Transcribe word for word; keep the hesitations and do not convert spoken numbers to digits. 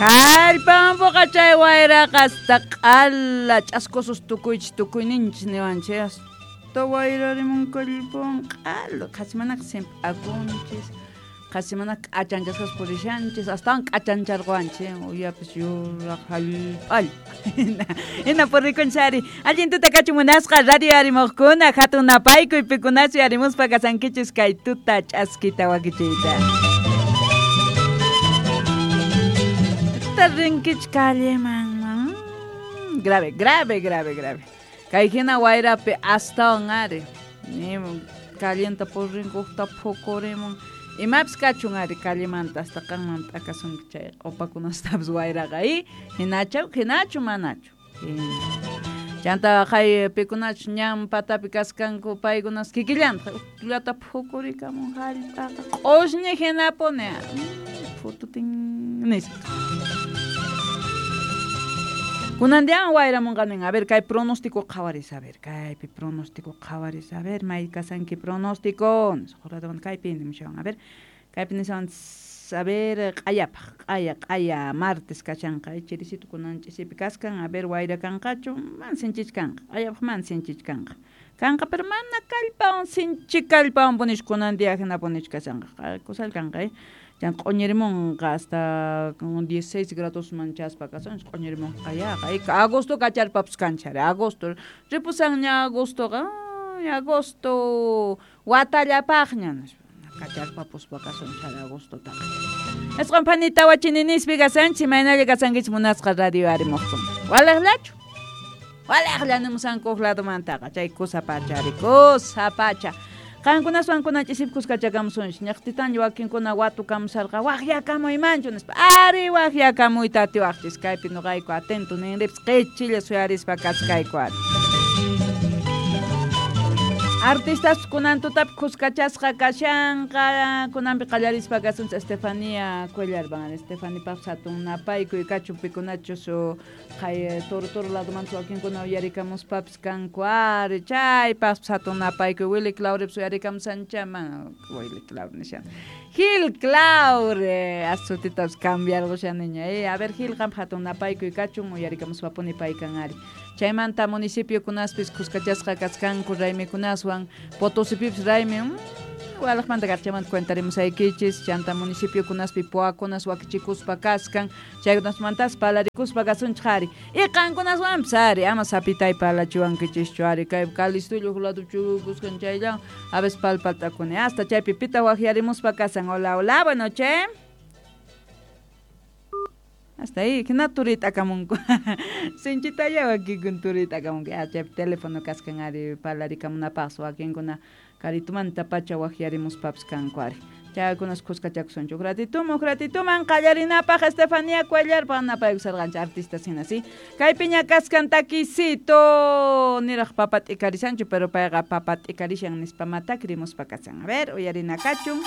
Kallpanpuqa chay wayraqa hasta q'ala ch'askusus tukuychis tukuyninchis niwanchis hasta wayrarimun kallpawan q'ala qhasimanaqa simp'akunchis qhasimanaqa k'achanchasqas purishanchis astawan k'achancharquwanchis uyapis yuraq hallp'alla hina purikunchis ari allin tuta kachun munasqa radio arimuqkuna hatun napaykuy pikunachu arimuspa kasankichis kay tuta ch'askita wakichiyta rinkich calleman grave, grave, grave, grave. Kay hina wayrapi astawan ari calienta purrinkuqta phukurimun imapis kachun ari callemanta hasta qanman t'akasunki chay q'upakunastapis wayraqa y hinachaw hinachu manachu chanta qay pikunachu ñan patapi kaskanku paykunas kikillanta uqllata phukurikamun hallp'aqa q'ushñi hinapuni phututin nispa Kunan diawan wayramunqa nin, a ver, kay pronóstico qhawaris, a ver, kaypi pronóstico qhawaris, a ver, may kasanki pronóstico, nisqa kaypi nimushawan, a ver, kaypi nishawan, a ver, q'ayapaq, q'aya, q'aya, martes kashanqa, chirisito kunan ch'isipi kaskan, a ver, wayra kanqachu, man sinchich kanqa, q'ayapaq man sinchich kanqa, kanqa, pero mana kallpawan, sinchi kallpawan punich kunan dia hina punich kashanqa, kusal kanqa, eh. Chan q'uñirimunqa hasta dieciséis grados manchaspa kasan q'uñirimunqa yaqa agosto kacharpapis kanchari agosto ripusanña agostoqa agosto watallapaqña kacharpapuspa kasunchari agostotaqa isqun phani tawa chininispi kasanchis imaynalla kasankichis munasqa radio arimuqkuna walaqllachu walaqlla nimusanku huk ladomantaqa chay kusa pacha ari kusa pacha qankunaswan kunan ch'isip kuskachakamusunchis ñaqtitanlla wakinkuna watukamusarqa waqyakamuymanchu nispa ari waqyakamuyta atiwaqchis kaypi nuqayku atento ninripis qichilla suyarispa kaskayku ari artistas kunan tutapi kuskachasqa kashanqa kunanpi qallarispa kasunchis Estefanía Cuellar van Estefanipaq hatun napaykuy kachun pikunachus qay toro toro ladomanta wakinkuna uyarikamuspapis kanku ari chaypaqpis hatun napaykuy Willy Clauripis uyarikamusanchama Willy Claure nishan Gil Claure asutitapis cambiarqushaniña eh a ver Gil qampa hatun napaykuy kachun uyarikamuspapuni paykan ari chaymanta municipiokunaspis kuskachasqa kaskanku raymikunaswan Potosipipis raymi walaqmanta karchamanta cuentarimusaykichis chanta municipiokunaspi puakunas wakichikuspa kaskan chaykunasmantas palarikuspa kasunchik ari y qankunaswanpis ari ama sapitay palachiwankichischu ari kay Calistullo huk lado chukuskan chayllawan a veces palpaltakuni hasta chaypi pita waqyarimuspa kasan hola hola buenas noches hasta ahí, hina turit'akamunku sinchitalla wakinkun turit'akamunku ah, chaypi teléfono kaskan ari parlarikamunapaqsi wakinkuna karitumanta pacha waqyarimuspapis kanku ari chaykunas kuskachakusunchik huk ratituman huk ratituman qallarinapaq Estefanía Cuellar napaykusarqanchik artistas hina si kaypiña kaskan takisito niraq papa t'ikarisanchu pero payqa papa t'ikarishan nispa matakrimuspa kasan a ver uyarina kachun.